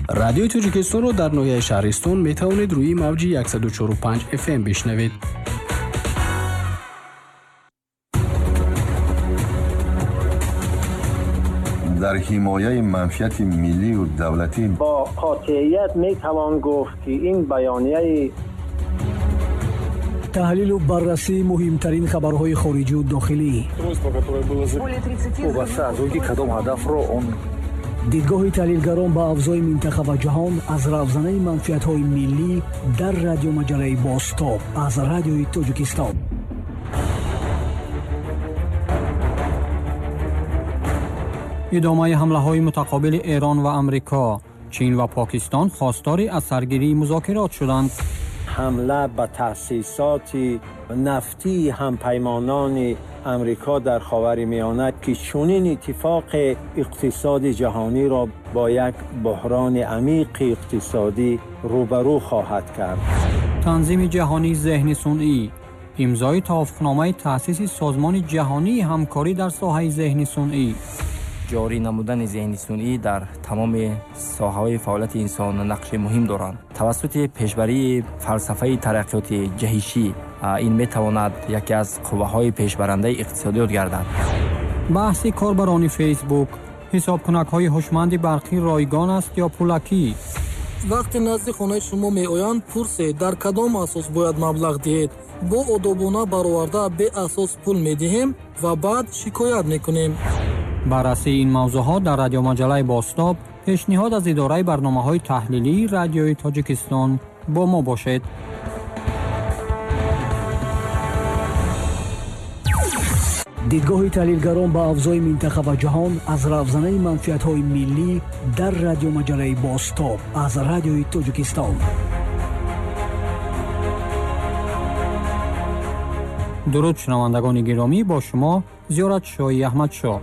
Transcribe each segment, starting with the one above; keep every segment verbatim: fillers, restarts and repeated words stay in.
Радиои Тоҷикистонро дар ноҳияи Шаҳристон метавонед рӯи мавҷи яксаду чору панҷ эф эм бишнавед. Дар ҳимояи манфиати миллию давлатӣ бо қотеият метавон гуфт, ки ин баёнияи таҳлилу баррасии муҳимтарин хабарҳои хориҷию дохилӣ, вобаста аз он ки кадом ҳадафро он дидгоҳи таҳлилгарон ба авзои минтақа ва ҷаҳон аз равзанаи манфиатҳои миллӣ дар радиомаҷалаи Бозтоб аз Радиои Тоҷикистон. Идомаи ҳамлаҳои мутақобили Эрон ва Амрико, Чин ва Покистон хостори аз саргирии музокирот шуданд. Ҳамла ба таъсисоти нафтии ҳампаймонони Амрико дар Ховари Миёна, ки чунин иттифоқи иқтисоди ҷаҳониро бо як буҳрони амиқи иқтисодӣ рӯбарӯ хоҳад кард. Танзими ҷаҳонии зеҳни сунъӣ, имзои тавофуқномаи таъсиси Созмони ҷаҳонии ҳамкорӣ дар соҳаи зеҳни сунъӣ. Ҷорӣ намудани зеҳни сунъӣ дар тамоми соҳаҳои фаъолияти инсон нақши муҳим доранд. Тавассути пешбарии фалсафаи тараққиёти ҷаҳишӣ ин метавонад яке аз қувваҳои пешбарандаи иқтисодиёт гардад. Баҳси корбарони Фейсбук, ҳисобкунакҳои ҳушманди барқӣ ройгон аст ё пулакӣ? Вақте назди хонаи шумо меоянд, пурсед дар кадом асос бояд маблағ диҳед. Бо одобона бароварда беасос пул медиҳем ва баъд шикоят мекунем. Баррасии ин мавзӯъҳо дар радиомаҷалаи Бозтоб, пешниҳод аз идораи барномаҳои таҳлилии Радиои Тоҷикистон. Бо мо бошед. Дидгоҳи таҳлилгарон ба авзои минтақа ва ҷаҳон аз равзанаи манфиатҳои миллӣ дар радиомаҷалаи Бозтоб аз Радиои Тоҷикистон. Дуруд шунавандагони гиромӣ, бо шумо Зиёратшоҳи Аҳмадшоҳ.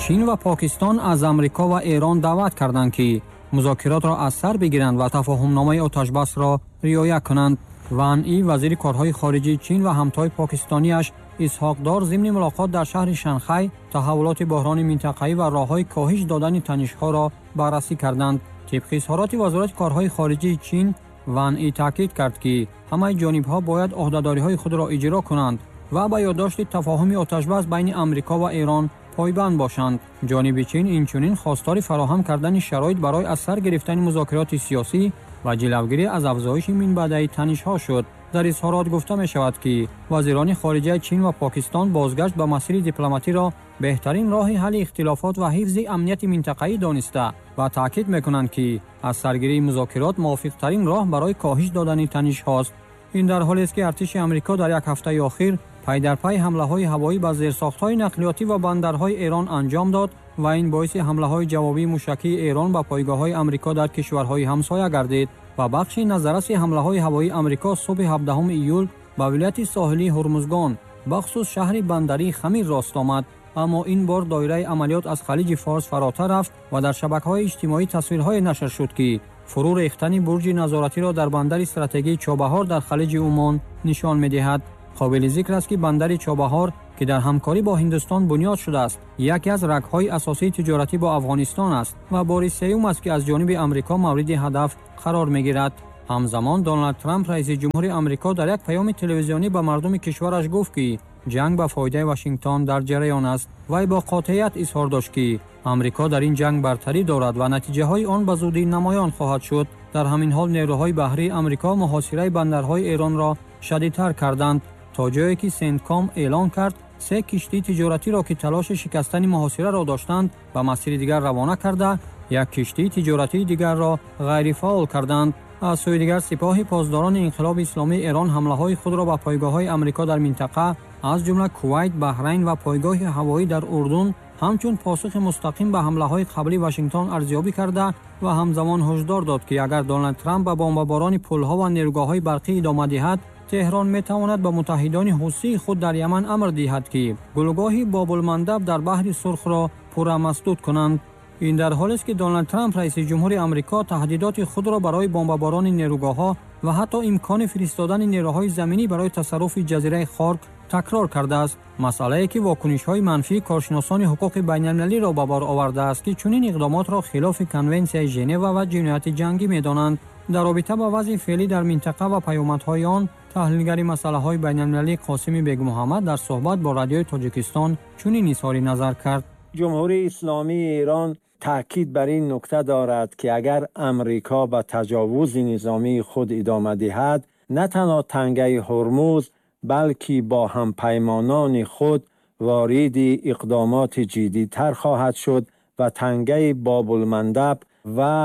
Чин ва Покистон аз Амрико ва Эрон даъват карданд, ки музокиротро аз сар бигиранд ва тафоҳумномаи оташбасро риоя кунанд. Ван И, вазири корҳои хориҷии Чин ва ҳамтои покистониаш Исҳоқ Дор зимни мулоқот дар шаҳри Шанхай таҳаввулоти буҳрони минтақавӣ ва роҳҳои коҳиш додани танишҳоро баррасӣ карданд. Тибқи изҳороти Вазорати корҳои хориҷии Чин, Ван И таъкид кард, ки ҳамаи ҷонибҳо бояд ӯҳдадориҳои худро иҷро кунанд ва ба ёддошти тафоҳуми оташбас байни Амрико ва Эрон пойбанд бошанд. Ҷониби Чин инчунин хостори фароҳам кардани шароит барои аз сар гирифтани музокироти сиёсӣ ва ҷилавгирӣ аз афзоиши минбаъдаи танишҳо шуд. Дар изҳорот гуфта мешавад, ки вазирони хориҷаи Чин ва Покистон бозгашт ба масири дипломатиро беҳтарин роҳи ҳалли ихтилофот ва ҳифзи амнияти минтақавӣ дониста ва таъкид мекунанд, ки аз саргирии музокирот мувофиқтарин роҳ барои коҳиш додани танишҳост. Ин дар ҳолест, ки артиши Амрико дар як ҳафтаи охир пай дар пай ҳамлаҳои ҳавоӣ ба зерсохтҳои нақлиётӣ ва бандарҳои Эрон анҷом дод ва ин боиси ҳамлаҳои ҷавобии мушакии Эрон ба пойгоҳҳои Амрико дар кишварҳои ҳамсоя гардид ва бахши назарраси ҳамлаҳои ҳавоии Амрико субҳи ҳабдаҳуми июл ба вилояти соҳилии Ҳурмузгон, бахусус шаҳри бандарии Хамир рост омад. Аммо ин бор доираи амалиёт аз Халиҷи Форс фаротар рафт ва дар шабакаҳои иҷтимоӣ тасвирҳое нашр шуд, ки фурӯ рехтани бурҷи назоратиро дар бандари стратегии Чобаҳор дар Халиҷи Умон нишон медиҳад. Қобили зикр аст, ки бандари Чобаҳор, ки дар ҳамкорӣ бо Ҳиндустон бунёд шудааст, яке аз рагҳои асосии тиҷоратӣ бо Афғонистон аст ва бори сеюм аст, ки аз ҷониби Амрико мавриди ҳадаф қарор мегирад. Ҳамзамон Доналд Трамп, раиси ҷумҳури Амрико, дар як паёми телевизионӣ ба мардуми кишвараш гуфт, ки ҷанг ба фоидаи Вашингтон дар ҷараён аст. Вай бо қотеият изҳор дошт, ки Амрико дар ин ҷанг бартарӣ дорад ва натиҷаҳои он ба зудӣ намоён хоҳад шуд. Дар ҳамин ҳол нерӯҳои баҳрии Амрико муҳосираи бандарҳои Эронро шадидтар карданд, то ҷое ки Сентком эълон кард се киштии тиҷоратиро, ки талоши шикастани муҳосираро доштанд, ба масири дигар равона карда, як киштии тиҷоратии дигарро ғайрифаъол карданд. Аз сӯи дигар Сипоҳи посдорони инқилоби исломии Эрон ҳамлаҳои худро ба пойгоҳҳои Амрико дар минтақа, аз ҷумла Кувайт, Баҳрайн ва пойгоҳи ҳавоӣ дар Урдун ҳамчун посухи мустақим ба ҳамлаҳои қабли Вашингтон арзёбӣ карда ва ҳамзамон ҳушдор дод, ки агар Доналд Трамп ба бомбаборони пулҳо ва нерӯгоҳҳои барқӣ идома диҳад, Теҳрон метавонад ба муттаҳидони ҳусии худ дар Яман амр диҳад, ки гулӯгоҳи Бобулмандаб дар баҳри Сурхро пурра масдуд кунанд. Ин дар ҳолест, ки Доналд Трамп, раиси ҷумҳури Амрико, таҳдидоти худро барои бомбаборони нерӯгоҳҳо ва ҳатто имкони фиристодани нерӯҳои заминӣ барои тасарруфи ҷазираи Хорк такрор кардааст. Масъалае ки вокунишҳои манфии коршиносони ҳуқуқи байналмилалиро ба бор овардааст, ки чунин иқдомотро хилофи конвенсияи Женева ва ҷинояти ҷангӣ медонанд. Дар робита ба вазъи феълӣ дар минтақа ва паёмадҳои он, таҳлилгари масъалаҳои байналмилалӣ Қосими Бегмуҳаммад дар суҳбат бо Радиои Тоҷикистон чунин изҳори назар кард. Ҷумҳурии Исломии Эрон таъкид бар ин нукта дорад, ки агар Амрико ба таҷовузи низомии худ идома диҳад, на танҳо тангаи Ҳурмуз, балки бо ҳампаймонони худ вориди иқдомоти ҷиддитар хоҳад шуд ва тангаи Бобулмандаб ва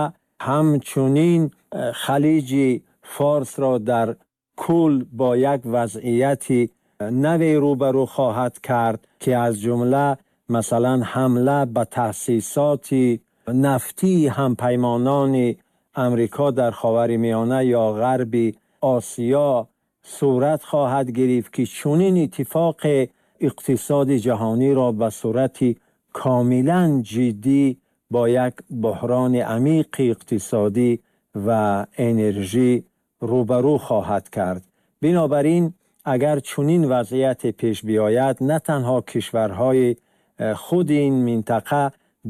ҳамчунин Халиҷи Форсро дар кул бо як вазъияти нави рӯбарӯ хоҳад кард, ки аз ҷумла масалан ҳамла ба таъсисоти нафтии ҳампаймонони Амрико дар Ховари Миёна ё Ғарби Осиё сурат хоҳад гирифт, ки чунин иттифоқ иқтисоди ҷаҳониро ба сурати комилан ҷиддӣ бо як буҳрони амиқи иқтисодӣ ва энержӣ рӯбарӯ хоҳад кард. Бинобар ин агар чунин вазъияте пеш биёяд, на танҳо кишварҳои худи ин минтақа,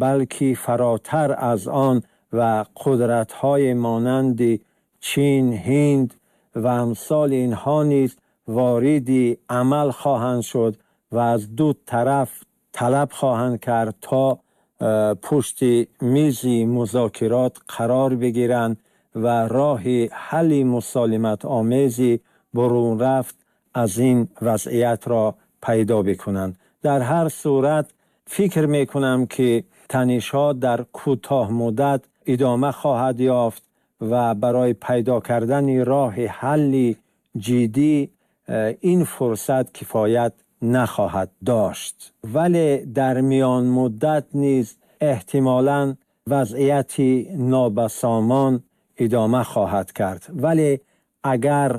балки фаротар аз он ва қудратҳои монанди Чин, Ҳинд ва амсоли инҳо низ вориди амал хоҳанд шуд ва аз ду тараф талаб хоҳанд кард то пушти мизи музокирот қарор бигиранд ва роҳи ҳалли мусолиматомези бурун рафт аз ин вазъиятро пайдо бикунанд. Дар ҳар сурат фикр мекунам, ки танишҳо дар кӯтоҳ муддат идома хоҳад ёфт ва барои пайдо кардани роҳи ҳалли ҷиддӣ ин фурсат кифоят нахоҳад дошт. Вале дар миён муддат низ эҳтимолан вазъияти нобасомон идома хоҳад кард. Вале агар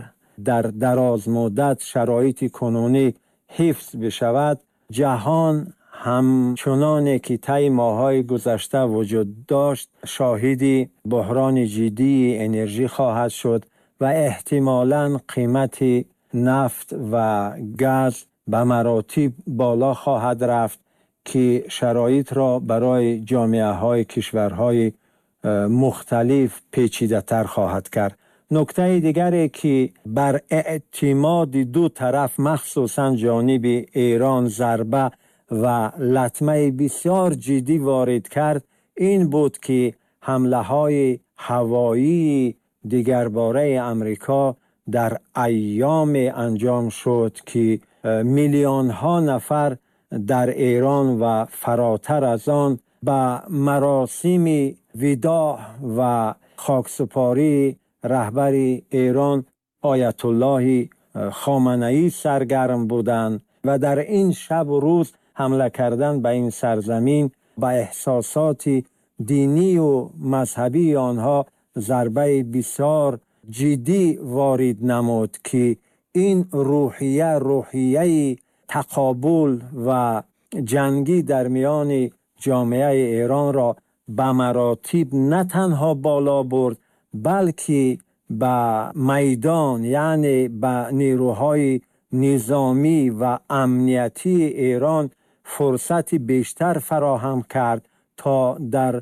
дар дароз муддат шароити кунунӣ ҳифз бишавад, ҷаҳон ҳамчуноне ки тайи моҳҳои гузашта вуҷуд дошт, шоҳиди буҳрони ҷиддии энержӣ хоҳад шуд ва эҳтимолан қимати нафт ва газ ба маротиб боло хоҳад рафт, ки шароитро барои ҷомеаҳои кишварҳои мухталиф печидатар хоҳад кард. Нуктаи дигаре ки бар эътимоди ду тараф, махсусан ҷониби Эрон, зарба ва латмаи бисёр ҷиддӣ ворид кард, ин буд ки ҳамлаҳои ҳавоии дигарбораи Амрико дар айёме анҷом шуд, ки миллионҳо нафар дар Эрон ва фаротар аз он ба маросими видоъ ва хоксупории раҳбари Эрон Оятуллоҳи Хоманаӣ саргарм буданд ва дар ин шаб ва рӯз ҳамла кардан ба ин сарзамин ба эҳсосоти динӣ ва мазҳабии онҳо зарбаи бисёр ҷиддӣ ворид намуд, ки ин рӯҳия, рӯҳияи тақобул ва ҷангӣ дар миёни ҷомеаи Эронро ба маротиб на танҳо боло бурд, балки ба майдон, яъне ба нерӯҳои низомӣ ва амниятии Эрон фурсати бештар фароҳам кард то дар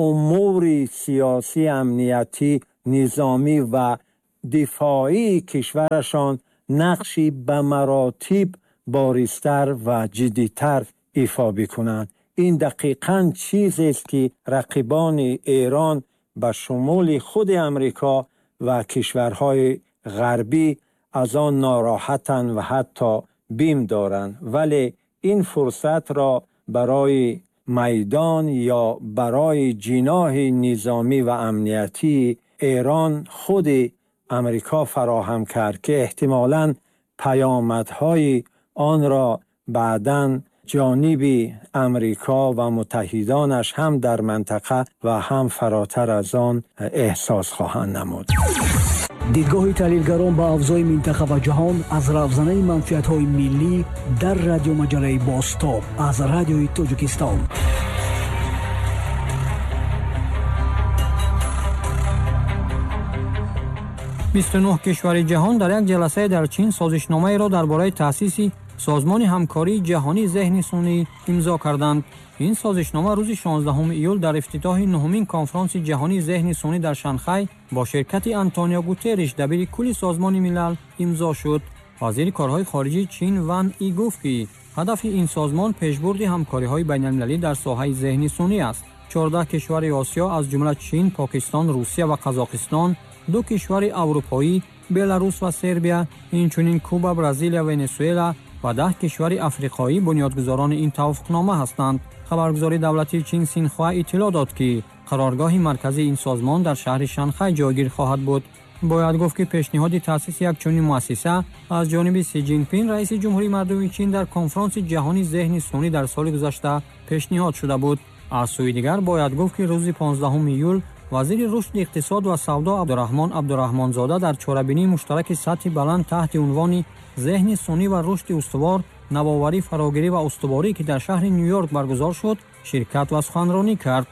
умури сиёсӣ, амниятӣ, низомӣ ва дифоии кишварашон нақши ба маротиб боризтар ва ҷиддитар ифо бикунанд. Ин дақиқан чизест, ки рақибони Эрон ба шумули худи Амрико ва кишварҳои ғарбӣ аз он нороҳатанд ва ҳатто бим доранд. Вале ин фурсатро барои майдон ё барои ҷиноҳи низомӣ ва амниятии Эрон худи Амрико фароҳам кард, ки эҳтимолан паёмадҳои онро баъдан ҷониби Амрико ва муттаҳидонаш ҳам дар минтақа ва ҳам фаротар аз он эҳсос хоҳанд намуд. Дидгоҳи таҳлилгарон ба авзои минтақа ва ҷаҳон аз равзанаи манфиатҳои миллӣ дар радиомаҷалаи Бозтоб аз Радиои Тоҷикистон. Бисту нӯҳ кишвари ҷаҳон дар як ҷаласае дар Чин созишномаеро дар бораи таъсиси Созмони ҳамкории ҷаҳонии зеҳни сунъӣ имзо карданд. Ин созишнома рӯзи шонздаҳуми июл дар ифтитоҳи нуҳумин конфронси ҷаҳонии зеҳни сунъӣ дар Шанхай бо ширкати Антонио Гутерриш, дабири кулли Созмони Милал, имзо шуд. Вазири корҳои хориҷии Чин Ван И гуфт, ки ҳадафи ин созмон пешбурди ҳамкориҳои байналмилалӣ дар соҳаи зеҳни сунъӣ аст. Чордаҳ кишвари Осиё, аз ҷумла Чин, Покистон, Русия ва Қазоқистон, ду кишвари аврупоӣ, Беларус ва Сербия, инчунин Куба, Бразилия, Венесуэла ва даҳ кишвари африқоӣ бунёдгузорони ин тавофуқнома ҳастанд. Хабаргузории давлатии Чин Синхуа иттилоъ дод, ки қароргоҳи марказии ин созмон дар шаҳри Шанхай ҷойгир хоҳад буд. Бояд гуфт, ки пешниҳоди таъсиси як чунин муассиса аз ҷониби Си Ҷинпин, раиси Ҷумҳурии Мардумии Чин, дар конфронси ҷаҳонии зеҳни сунъӣ дар соли гузашта пешниҳод шуда буд. Аз сӯи дигар бояд гуфт, ки рӯзи понздаҳуми июл вазири рушди иқтисод ва савдо Абдураҳмон Абдураҳмонзода дар чорабинии муштараки сатҳи баланд таҳти унвони зеҳни сунъӣ ва рушди устувор, навоварӣ, фарогирӣ ва устуворӣ, ки дар шаҳри Ню-Йорк баргузор шуд, ширкат ва суханронӣ кард.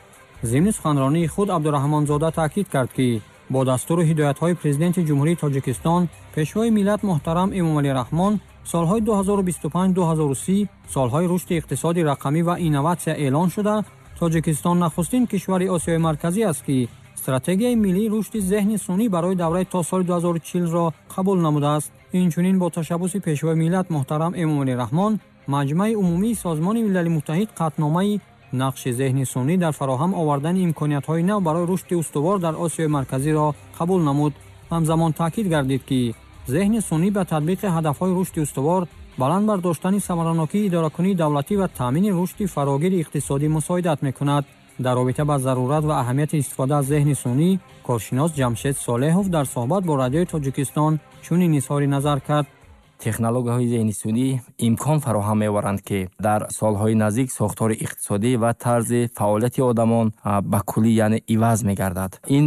Зимни суханронии худ Абдураҳмонзода таъкид кард, ки бо дастуру ҳидоятҳои Президенти Ҷумҳурии Тоҷикистон, Пешвои миллат муҳтарам Эмомалӣ Раҳмон, солҳои ду ҳазору бисту панҷ ду ҳазору си солҳои рушди иқтисоди рақамӣ ва инноватсия эълон шуда, Тоҷикистон нахустин кишвари Осиёи Марказӣ аст, ки стратегияи миллии рушди зеҳни сунъӣ барои давраи то соли ду ҳазору чилро қабул намудааст. Инчунин бо ташаббуси Пешвои миллат муҳтарам Эмомалӣ Раҳмон, Маҷмаи умумии Созмони Милали Муттаҳид қатъномаи нақши зеҳни сунъӣ дар фароҳам овардани имкониятҳои нав барои рушди устувор дар Осиёи Марказиро қабул намуд. Ҳамзамон таъкид гардид, ки зеҳни сунъӣ ба татбиқи ҳадафҳои рушди устувор, баланд бардоштани самаранокии идоракунии давлатӣ ва таъмини рушди фарогири иқтисодӣ мусоидат мекунад. Дар робита ба зарурат ва аҳамияти истифода аз зеҳни сунъӣ коршинос Ҷамшед Солеҳов дар суҳбат бо Радиои Тоҷикистон чунин изҳори назар кард. Технологияҳои зеҳни сунъӣ имкон фароҳам меоваранд, ки дар солҳои наздик сохтори иқтисодӣ ва тарзи фаъолияти одамон ба куллӣ, яъне иваз мегардад. Ин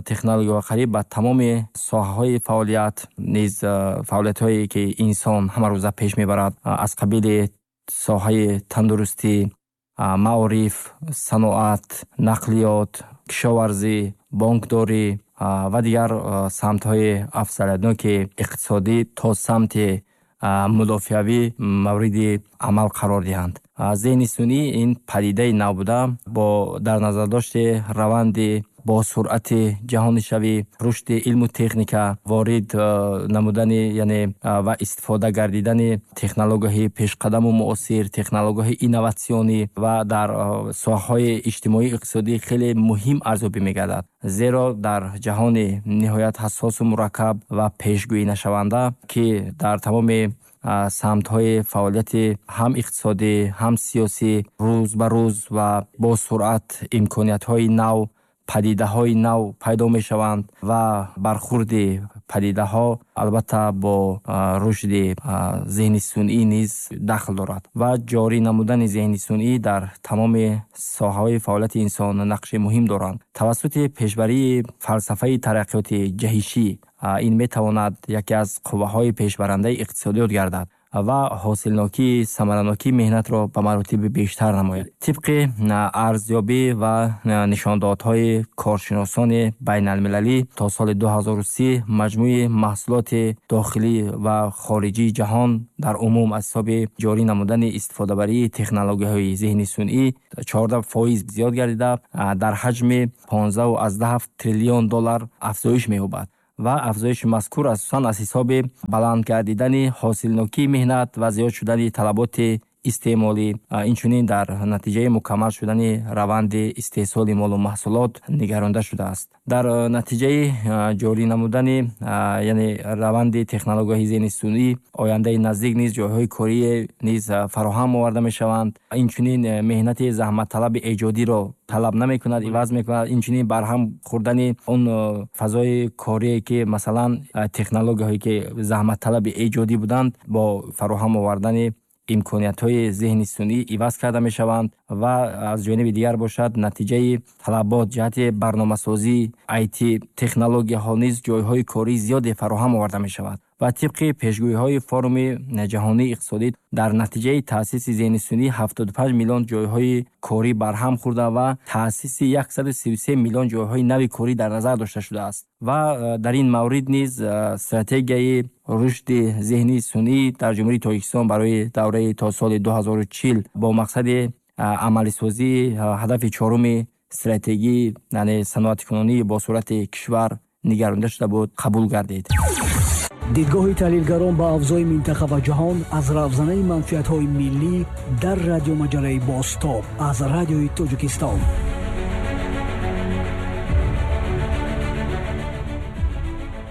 технологияҳо қариб ба тамоми соҳаҳои фаъолият низ, фаъолиятҳое ки инсон ҳамарӯза пеш мебарад, аз қабили соҳаи тандурустӣ, маориф, саноат, нақлиёт, кишоварзӣ, бонкдорӣ ва дигар самтҳои афзалиятноки иқтисодӣ то самти мудофиавӣ мавриди амал қарор диҳанд. Зеҳни сунъӣ ин падидаи нав буда, бо дар назардошти раванди бо суръати ҷаҳонишавӣ, рушди илму техника, ворид намудани, яъне ва истифода гардидани технологияҳои пешқадаму муосир, технологияҳои инноватсионӣ ва дар соҳаҳои иҷтимоӣ иқтисодӣ хеле муҳим арзёбӣ мегардад. Зеро дар ҷаҳони ниҳоят ҳассосу мураккаб ва пешгӯӣ нашаванда, ки дар тамоми самтҳои фаъолияти ҳам иқтисодӣ, ҳам сиёсӣ рӯз ба рӯз ва бо суръат имкониятҳои нав, падидаҳои нав пайдо мешаванд ва бархурди падидаҳо албатта бо рушди зеҳни сунъӣ низ дахл дорад ва ҷорӣ намудани зеҳни сунъӣ дар тамоми соҳаҳои фаъолияти инсон нақши муҳим доранд. Тавассути пешбарии фалсафаи тараққиёти ҷаҳишӣ ин метавонад яке аз қувваҳои пешбарандаи иқтисодиёт гардад ва ҳосилнокии самаранокии меҳнатро ба маротиби бештар намояд. Тибқи арзёбӣ ва нишондодҳои коршиносони байналмилалӣ то соли ду ҳазору си маҷмӯи маҳсулоти дохилӣ ва хориҷии ҷаҳон дар умум аз ҳисоби ҷорӣ намудани истифодабарии технологияҳои зеҳни сунъӣ чордаҳ фоиз зиёд гардида, дар ҳаҷми понздаҳу аз даҳ ҳафт триллион доллар афзоиш меёбад ва афзоиши мазкур асосан аз ҳисоби баланд гардидани ҳосилнокии меҳнат ва зиёд шудани талаботи истеъмолӣ, инчунин дар натиҷаи мукаммал шудани раванди истеҳсоли молу маҳсулот нигаронда шудааст. Дар натиҷаи ҷорӣ намудани, яъне раванди технологияҳои зеҳни сунъӣ ояндаи наздик низ ҷойҳои корӣ низ фароҳам оварда мешаванд. Инчунин меҳнати заҳматталаби эҷодиро талаб намекунад, иваз мекунад. Инчунин барҳам хӯрдани он фазои корие ки масалан технологияҳое ки заҳматталаби эҷодӣ буданд, бо фароҳам овардани имкониятҳои зеҳни сунъӣ иваз карда мешаванд ва аз ҷониби дигар бошад натиҷаи талабот ҷиҳати барномасозӣ, ай ти технологияҳо низ ҷойҳои кории зиёде фароҳам оварда мешавад. Ва тибқи пешгӯиҳои форуми ҷаҳонии иқтисодӣ дар натиҷаи таъсиси зеҳни сунъӣ ҳафтоду панҷ миллион ҷойҳои корӣ барҳам хӯрда ва таъсиси яксаду сию се миллион ҷойҳои нави корӣ дар назар дошта шудааст. Ва дар ин маврид низ стратегияи рушди зеҳни сунъӣ дар Ҷумҳурии Тоҷикистон барои давраи то соли ду ҳазору чил бо мақсади амалисозии ҳадафи чоруми стратегии, яъне саноаткунонии бо суръати кишвар нигаронда шуда буд, қабул гардид. Дидгоҳи таҳлилгарон ба авзои минтақа ва ҷаҳон аз равзанаи манфиатҳои миллӣ дар радиомаҷалаи Бозтоб аз радиои Тоҷикистон.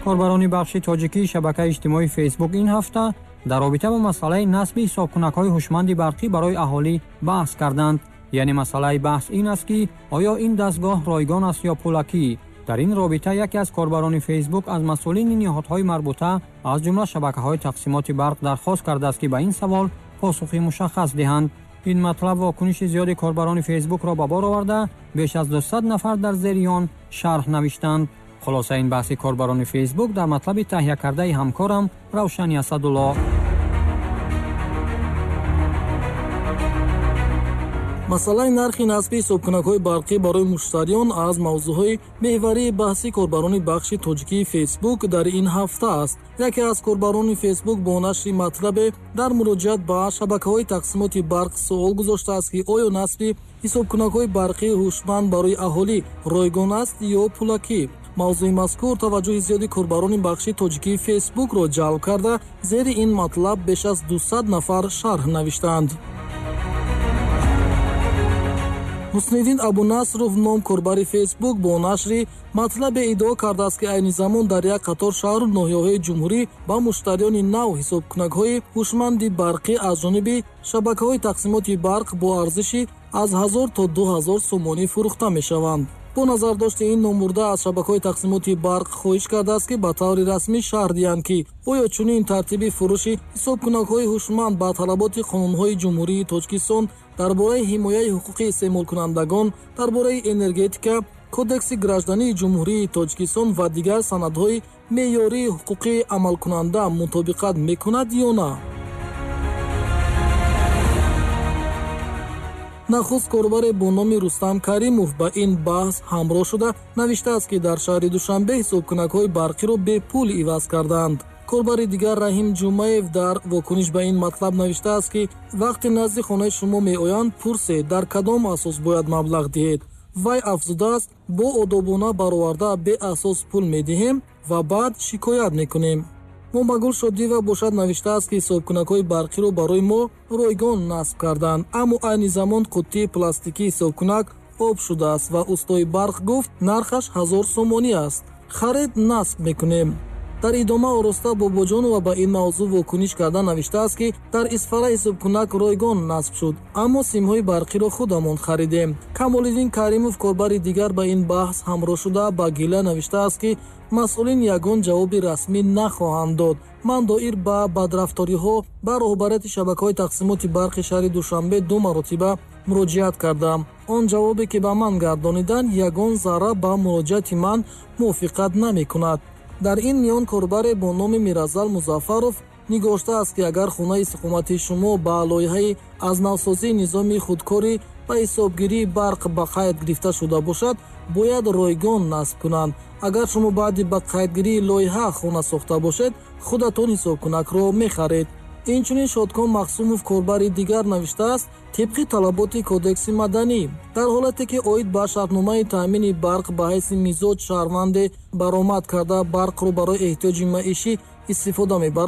Корбарони бахши тоҷикии шабакаи иҷтимоии Фейсбук ин ҳафта дар робита бо масъалаи насби ҳисобкунакҳои ҳушманди барқӣ барои аҳолӣ баҳс карданд. Яъне масъалаи баҳс ин аст, ки оё ин дастгоҳ ройгон аст ё пулакӣ. Дар ин робита яке аз корбарони Фейсбук аз масъулини ниҳодҳои марбута аз ҷумла шабакаҳои тақсимоти барқ дархост кардааст, ки ба ин савол посухи мушаххас диҳанд. Ин матлаб вокуниши зиёди корбарони Фейсбукро ба бор оварда, беш аз дусад нафар дар зери он шарҳ навиштанд. Хулоса ин баҳси корбарони Фейсбук дар матлаби таҳия кардаи ҳамкорам Равшани Асадулло. Масъалаи нархи насби ҳисобкунакҳои барқӣ барои муштариён аз мавзӯъҳои меҳварии баҳси корбарони бахши тоҷикии Фейсбук дар ин ҳафта аст. Яке аз корбарони Фейсбук бо нашри матлабе дар муроҷиат ба шабакаҳои тақсимоти барқ суол гузоштааст, ки оё насби ҳисобкунакҳои барқии ҳушманд барои аҳолӣ ройгон аст ё пулакӣ. Мавзӯи мазкур таваҷҷӯҳи зиёди корбарони бахши тоҷикии Фейсбукро ҷалб карда, зери ин матлаб беш аз дусад нафар шарҳ навиштанд. Ҳусниддин Абунасров ном корбари Фейсбук бо нашри матлабе иддао кардааст, ки айни замон дар як қатор шаҳру ноҳияҳои ҷумҳурӣ ба муштариёни нав ҳисобкунакҳои ҳушманди барқӣ аз ҷониби шабакаҳои тақсимоти барқ бо арзиши аз ҳазор то ду ҳазор сомонӣ фурӯхта мешаванд. Бо назардошти ин номбурда аз шабакаҳои тақсимоти барқ хоҳиш кардааст, ки ба таври расмӣ шарҳ диҳанд, ки оё чунин тартиби фурӯши ҳисобкунакҳои ҳушманд ба талаботи қонунҳои Ҷумҳурии Тоҷикистон дар бораи ҳимояи ҳуқуқи истеъмолкунандагон, дар бораи энергетика, Кодекси граждании Ҷумҳурии Тоҷикистон ва дигар санадҳои меъёрии ҳуқуқии амалкунанда мутобиқат мекунад ё на. Нахуст корбаре бо номи Рустам Каримов ба ин баҳс ҳамроҳ шуда навиштааст, ки дар шаҳри Душанбе ҳисобкунакҳои барқиро бепул иваз кардаанд. Корбари дигар Раҳим Ҷумаев дар вокуниш ба ин матлаб навиштааст, ки вақте назди хонаи шумо меоянд, пурсед дар кадом асос бояд маблағ диҳед. Вай афзудааст, бо одобона бароварда беасос пул медиҳем ва баъд шикоят мекунем. Момагул Шодиева бошад навиштааст, ки ҳисобкунакҳои барқиро барои мо ройгон насб карданд, аммо айни замон қуттии пластикии ҳисобкунак об шудааст ва устои барқ гуфт нархаш ҳазор сомонӣ аст. Харид насб мекунем. Дар идома Ороста Бобоҷонова ба ин мавзӯъ вокуниш карда навиштааст, ки дар Исфара ҳисобкунак ройгон насб шуд, аммо симҳои барқиро худамон харидем. Камолиддин Каримов корбари дигар ба ин баҳс ҳамроҳ шуда ба гила навиштааст, ки масъулин ягон ҷавоби расмӣ нахоҳанд дод. Ман доир ба бадрафториҳо ба роҳбарияти шабакаҳои тақсимоти барқи шаҳри Душанбе ду маротиба муроҷиат кардам. Он ҷавобе ки ба ман гардониданд, ягон зарра ба муроҷиати ман мувофиқат намекунад. Дар ин миён корбаре бо номи Миразал Музаффаров нигоштааст, ки агар хонаи истиқоматии шумо ба лоиҳаи аз навсозии низоми худкорӣ ва ҳисобгирии барқ ба қайд гирифта шуда бошад, бояд ройгон насб кунанд. Агар шумо баъди ба қайдгирии лоиҳа хона сохта бошед, худатон ҳисобкунакро мехаред. Инчунин Шодком Мақсумов корбари дигар навиштааст, тибқи талаботи Кодекси маданӣ, дар ҳолате ки оид ба шартномаи таъмини барқ ба ҳайси мизоҷ шаҳрванде баромад карда барқро барои эҳтиёҷи маишӣ истифода мебарад,